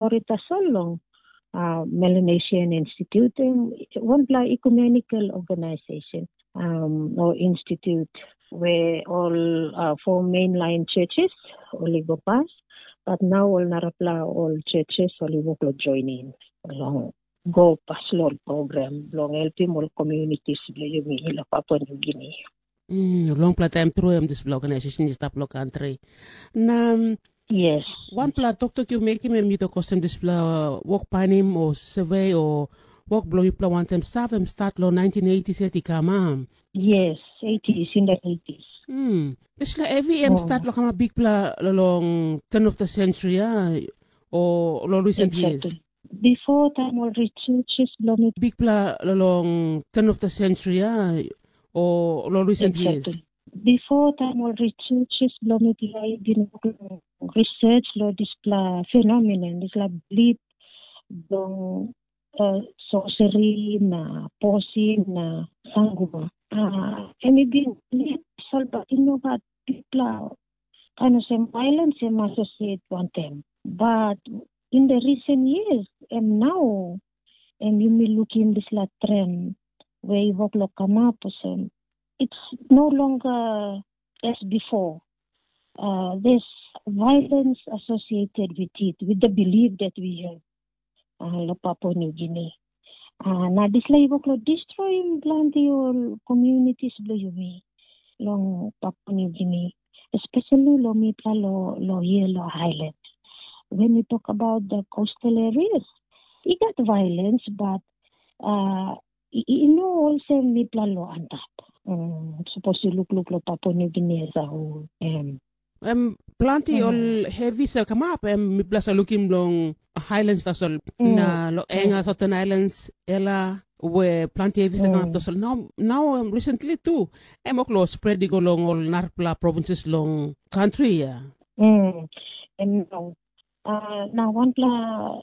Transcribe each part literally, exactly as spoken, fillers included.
stori tasol long uh, Melanesian Institute, em wanpela ecumenical organization um, o institute where all uh, four mainline churches ol i go pas, but now ol narapela ol churches ol i wok lo joining long go pas long program bilong helpim ol communities bilong yumi lo Papua New Guinea. Mm, longpela taim tru em dispela organization i stap lo country. Na mm, Yes. Wanpela toktok yu mekim em i tok olsem dispela wok painim o survey o wok bilong yupela wantaim save em start long nineteen eighties yet i kam, a? Yes, eighties, in the eighties. Hmm. Dispela heavy em Oh. Start long kamap bikpela long turn of the century, a? O long recent years? Exactly. Before time ol researchers bilong mi Bikpela long turn of the century, a? O long recent years? Exactly. Before time ol researchers bilong mipela i bin wok long research long dispela phenomenon, dispela bilip bilong uh, sorcery na posin na sanguma. Uh, em i bin bilip tasol, but i no gat bikpela kain olsem violence em associate wantaim. But in the recent years, em nau em yumi lukim dispela trend we i wok long kamap olsem, it's no longer as before. Uh, there's violence associated with it, with the belief that we have uh, lo Papua New Guinea. Uh, na dispela i wok lo destroying planti ol communities bilong yumi long Papua New Guinea, especially lo mipela lo, lo here lo island. When we talk about the coastal areas, i gat violence, but uh, i, i no olsem mipela lo antap. Um, suppose you look look lo Papua New Guinea as a whole. Um, Em planti ol hevi sa kamap, em mipela sa lukim long highlands tasol. Na lo enga Southern Islands, ela we planti hevi sa kamap tasol. Now, now em recently tu, em ok lo spread i go long ol narapela provinces long country ya. Mm. Em no. Uh, na wanpela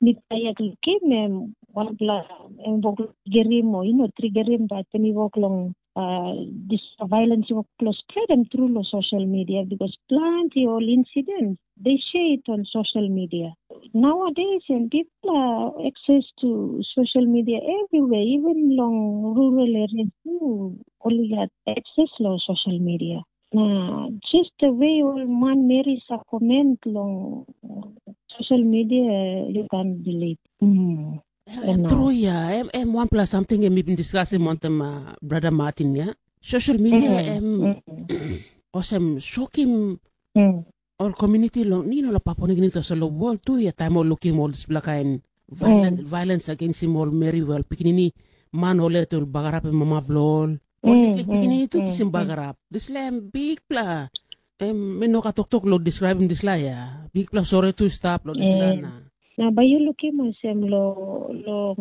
mipela yet lukim em wanpela em wok gerim o ino trigerim bat em i wok long uh, this violence i wok lo spread em through lo social media because planti ol incidents they share it on social media. Nowadays and people are access to social media everywhere, even long rural areas too. Only got access lo social media. Na just the way ol manmeri sa comment long social media, you can believe. Mm. Em tru ya, em, em wanpela samting em i bin diskasim wantaim uh, brother Martin ya. Social media em olsem shokim ol community long ni no la Papua New Guinea tasol lo world tu ya taim ol lukim ol dispela kain violent, violence against ol meri ol pikinini man ol et ol bagarap mama bilong ol. Ol liklik pikinini tu kisim bagarap. Dispela em bikpela em mi no ka toktok lo describim dispela ya. Bikpela sore tu stap lo dispela na. Na bai yu lukim olsem lo lo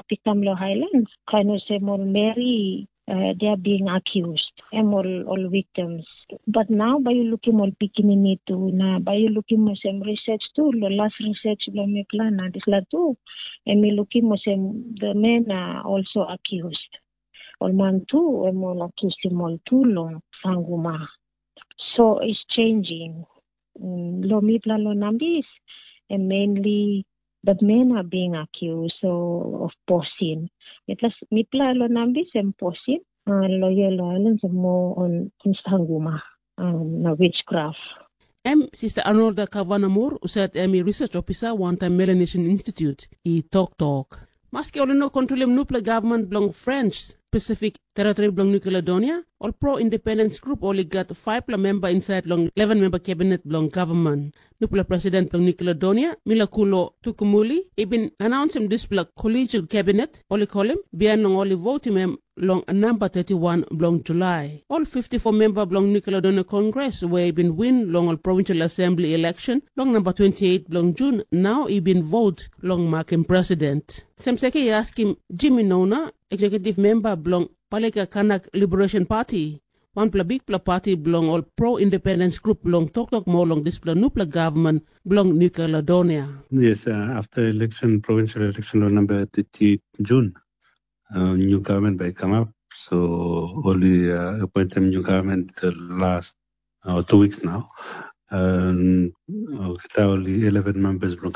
pikam lo Highlands, kain olsem ol meri uh, they are being accused, em ol ol victims. But now bai yu lukim ol pikinini tu, na bai yu lukim olsem research tu, lo last research lo mipela na dispela tu, em i lukim olsem the men are also accused. Ol man tu em ol accused ol tu long sanguma. So it's changing. Mm, lo mipela lo nambis, and mainly the men are being accused so of posin. Mipela, mipela lo nambis em posin, uh, lo yellow islands mo on, on sanguma, um, na witchcraft. Em Sister Arnolda Kavanamur, usat em i research officer wantaim Melanesian Institute, i toktok. Maski ol i no kontrolim nupela gavman bilong French Pacific Territory bilong New Caledonia, ol pro-independence group ol i gat faipela memba insait long eleven memba kabinet bilong gavman. Nupela president bilong New Caledonia, Milakulo Tukumuli, i bin anaunsim dispela collegial cabinet, ol i kolim, bihain long ol i votim em long namba thirty-one bilong Julai. Ol fifty-four memba bilong New Caledonia Congress we i bin win long ol provincial assembly election long namba twenty-eight bilong Jun nau i bin vot long makim president. Semseke i askim Jimmy Nona, executive member bilong Palika Kanak Liberation Party, wanpela bikpela pati bilong ol pro-independence group long toktok moa long dispela nupela gavman bilong New Caledonia. Yes, uh, after election, provincial election on number thirty June, uh, new government by come up. So only uh, appoint them new government the last uh, two weeks now. Um, kita only eleven members from